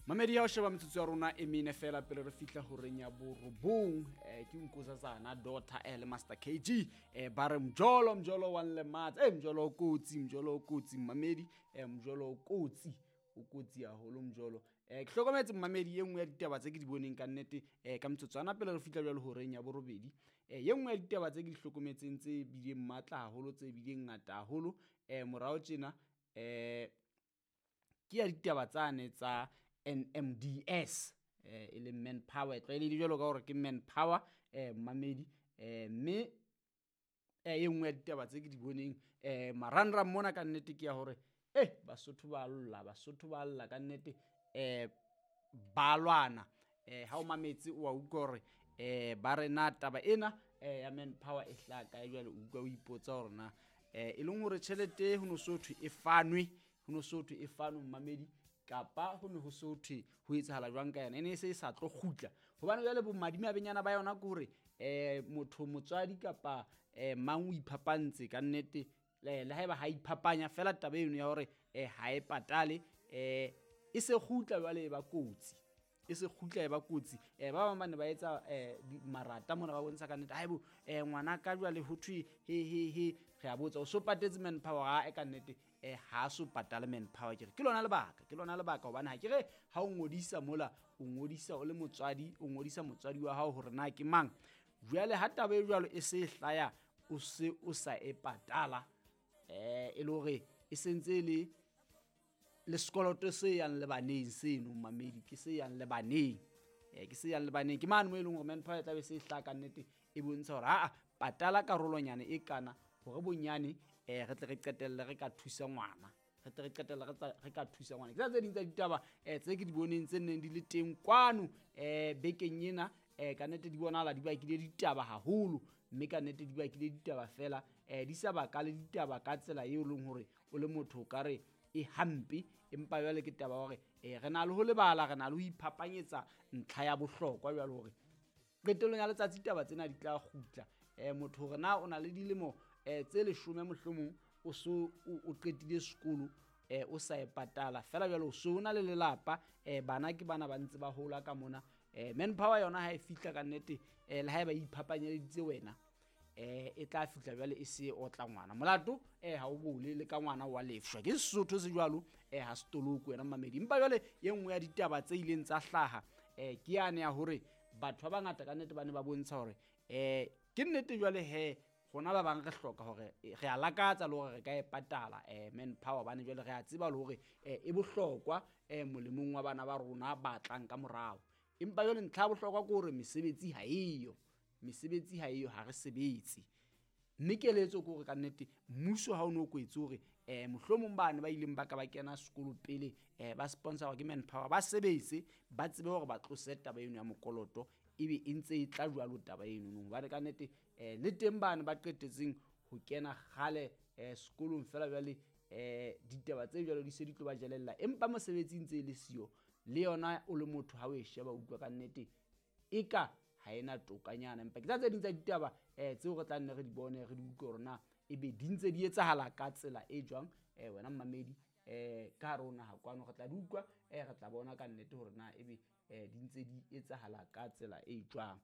Mamedi ya ho sheba metsotso ya rona e mene fela pele re fihla horeng ya borobong. Ke Nkosazana Daughter le Master KG, ba re mjolo, mjolo wa nlematsa. Mjolo o kotsi, mjolo o kotsi, mamedi, mjolo o kotsi, o kotsi haholo mjolo. Ke hlokometse, mamedi, e nngwe ya ditaba tse ke di boneng ka nnete, ka metsotswana pele re fihla jwalo horeng ya borobedi, ye nngwe ya ditaba tse ke di hlokometseng tse bileng matla haholo, tse bileng ngata haholo morao tjena, ke ya ditaba tsane tsa NMDS, e leng manpower, e tlwaelehile jwalo ka hore ke manpower, mamedi. Mme e nngwe ya ditaba tse ke di boneng marangrang mona ka nnete ke ya hore Basotho ba lla, Basotho ba lla ka nnete, ba lwana. Ha o mametse o wa utlwa hore ba re na taba ena ya manpower e hlaha kae. Jwale o utlwa o ipotsa hore na e leng hore tjhelete ho no so thwe e fanwe, ho no so thwe e fanwe, mmamedi, kapa ho ne ho so thwe ho etsahala jwang ka yona, e ne e se e sa tlo kgutla? Hobane jwale bomadimabenyana ba yona ke hore motho, motswadi kapa mang, o iphapantse ka nnete, le haeba ha iphapanya fela, taba eno ya hore ha e patale, e se kgutla jwale e ba kotsi, e se kgutla e ba kotsi. Ba bang ba ne ba etsa marata mona, ba bontsha ka nnete, haebo ngwana ka jwale ho thwe he he he. Re a botsa, o so patetse manpower? Ha e ka nnete ha so patale manpower. Ke re ke lona lebaka, ke lona lebaka, hobane ha ke re ha o ngodisa mola, o ngodisa o le motswadi, o ngodisa motswadi wa hao hore na ke mang. Jwale ha taba e jwalo e se e hlaya, o se o sa e patala, e le hore e sentse e le le sekoloto se yang le baneng seno, mamedi, ke se yang le baneng, ke se yang le baneng. Ke mane mo e leng hore manpower e tlabe se e hlaha ka nnete, e bontsha hore aa patala karolonyana e kana hore bonyane re tle re qetelle re ka thusa ngwana, re tle re qetelle re ka thusa ngwana. Ke tsa tse ding tsa ditaba tse ke di boneng tse neng di le teng kwano bekeng ena. Ka nnete di bonahala di bakile ditaba haholo, mme ka nnete di bakile ditaba fela, di sa baka le ditaba ka tsela eo leng hore o le motho o ka re e hampe, empa jwale ke taba hore re na le ho lebala, re na le ho iphapanyetsa ntlha ya bohlokwa jwale hore qetellong ya letsatsi taba tsena di tla kgutla. Motho hore na o na le dilemo tse 10 mohlomong, o so o qetile sekolo, o sa e patala fela, jwale o so o na le lelapa, bana ke bana ba ntse ba hola ka mona. Manpower yona ha e fihla ka nnete, le haeba e iphapanyeleditse wena, e tla fihla jwale e se otla ngwana. Molato ha o bole le ka ngwana wa lefshwa, ke Sesotho se jwalo, ha se toloko wena, mamedi. Empa jwale ye nngwe ya ditaba tse ileng tsa hlaha, ke yane ya hore batho ba bangata ka nnete ba ne ba bontsha hore ke nnete jwale he rona ba bang re hloka hore re a lakatsa le hore re ka e patala manpower, hobane jwale re a tseba le hore e bohlokwa molemong wa bana ba rona ba tlang ka morao. Empa jwale ntlha ya bohlokwa ke hore mesebetsi ha eyo, mesebetsi ha eyo, ha re sebetse. Mme keletso ke hore ka nnete mmuso ha o no kwetse hore mohlomong bane ba ileng ba ka ba kena sekolo pele, ba sponsor ke manpower, ba sebetse, ba tsebe hore ba tlose taba eno ya mokoloto, ebe e ntse e tla jwalo taba eno no. Hobane ka nnete le teng bane ba qetetseng ho kena kgale sekolong fela, jwale ditaba tse jwalo di se di tlo ba jelella, empa mosebetsi ntse e le siyo. Le yona o le motho ha o e sheba, utlwa ka nnete eka ha ena tokanyana. Empa ke tsa tse ding tsa ditaba tseo re tla nne re di bone, re di utlwe hore na ebe di ntse di etsahala ka tsela e jwang. Wena mmamedi, ka hare ho naha kwano re tla di utlwa, re tla bona ka nnete hore na ebe di ntse di etsahala ka tsela e jwang.